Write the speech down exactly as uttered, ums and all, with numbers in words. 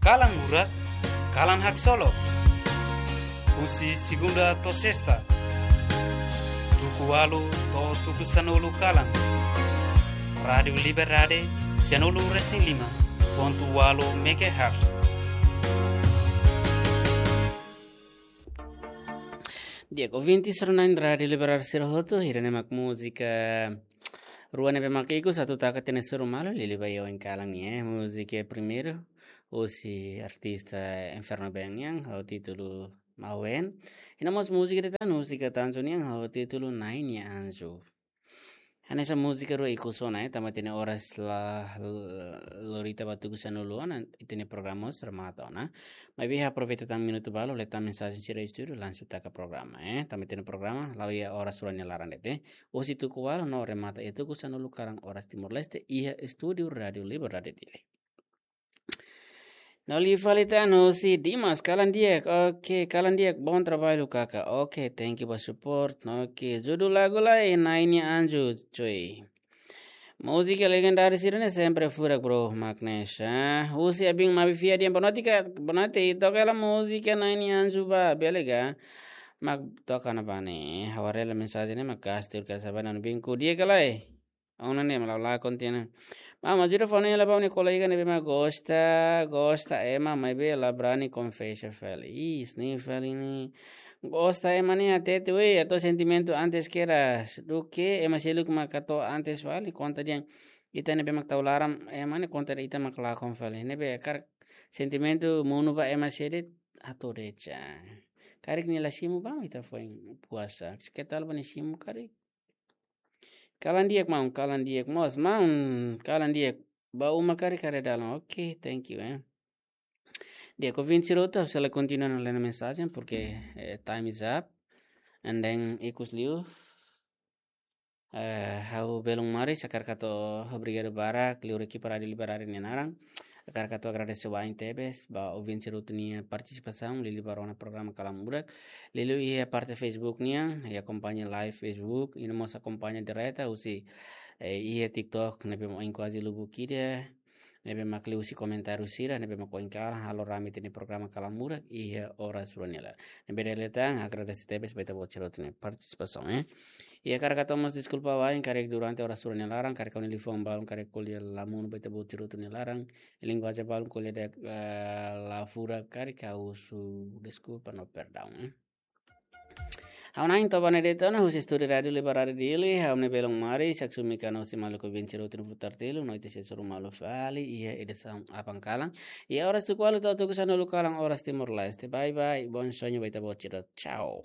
Kalan Murak, kalan haksolok. Husi segunda to'o sesta, tuku ualu to'o tuku sanulu kalan. Rádiu Liberdade, sanulu resin lima pontu ualu megahertz. Di'ak ouvinte sira-na'in Rádiu Liberdade sira hotu, ida-ne'e mak múzika rua ne'ebé mak ikus atu taka tiha ona sira-nia malu, liuliu ba iha oin kalan ne'e, eh. Múzika primeiru, husi artista Inferno Band nian, ho títulu Mawen. I no mós múzika ida tan, múzika Tanzania nian, ho títulu Na'in nia Anju. Hanesan múzika rua ikus ona, eh, tanba ita-nia oras la, la, lori ita ba tuku sanulu ona, ita-nia programa mós remata ona. Maibé aproveita tan minutu balu, lee tan mensajen sira estúdiu, langsung taka programa, eh. Tanba ita-nia programa la'o iha oras rua nia laran de'it, eh. Husi tuku ualu no remata iha tuku sanulu kalan oras Timor-Leste, iha estúdiu Rádiu Liberdade Dili. No liu fali tan husi Dimas, kalan di'ak, oke, kalan di'ak, bom trabalho, kaka. Oke, thank you ba support. Oke, judul lagu lai, Na'in nia Anju, cuy. Múzika legendáriu sira-ne'e sempre furak, bro, Magnes. Ah, husi Abin Mabi Fia dehan, boa noite, ka, boa noite, i toka hela múzika Na'in nia Anju ba, bele ka? Mak toka ona ba ne'e, ha'u haree hela mensajen ne'e, mak kastur ka sabanan binku dia ka lai. Ona ne'e mak la'o la kontinua. Mak, mak ajuda fó ne'e lai ba ha'u-nia kolega ne'ebé mak gosta, gosta ema, maibé la brani konfesa fali. Ih, ne'e fali ne'e. Gosta ema ne'e hatete, wei, hato'o sentimentu antes kedas. Duké ema seluk mak hato'o antes fali, konta dehan ita ne'ebé mak tau laran, ema ne'e konta dehan ita mak lakon fali. Ne'ebé karik sentimentu monu ba ema sé de'it, hato'o de'it. Karik nia la simu ba, ita foin puasa. Ketal ba nia simu karik. Kalan di'ak, maun, kalan di'ak mós, maun, kalan di'ak. Ba uma karik haree dalan. Oke, thank you, eh. Di'ak ouvinte sira hotu, ha'u sei la kontinua ona lee mensajen, porque, eh, time is up. And then, ikus liu, eh, ha'u belun Maris hakarak hato'o obrigadu barak, liuhusi ekipa Rádiu Liberdade nia naran. Hakarak hato'o agradese wa'in tebes ba ouvinte sira hotu nia partisipasaun, liuliu ba rona programa Kalan Murak. Liuliu iha parte Facebook nian, i akompaña live Facebook, i no mós akompaña direta husi, eh, iha TikTok, ne'ebé mak oin kuaze lubuk ida, ne'ebé mak liuhusi komentáriu sira, ne'ebé mak oin kalan, halo rame ita-nia programa Kalan Murak, iha oras rua nia laran. Ne'ebé dala ida tan, agradese tebes ba ita-boot sira hotu nia partisipasaun, eh. I hakarak hato'o mós deskulpa wa'in, karik durante oras rua nia laran, karik ha'u-nia liafuan balun, karik ko'alia la monu ba ita-boot sira hotu nia laran, linguajen balun ko'alia de'it, eh, la furak, karik ha'u husu deskulpa no perdaun, eh. Ha'u na'in toba ne'e de'it ona husi estúdiu Rádiu Liberdade Dili, ha'u-nia belun Maris, ha'u sei mai hamutuk ho maluk ouvinte sira hotu nia futar telu, no ita sei hasoru malu fali, iha edisaun aban kalan. Iha oras tuku ualu to'o tuku sanulu kalan oras Timor-Leste. Bye bye, bom sonho ba ita-boot sira. Tchau.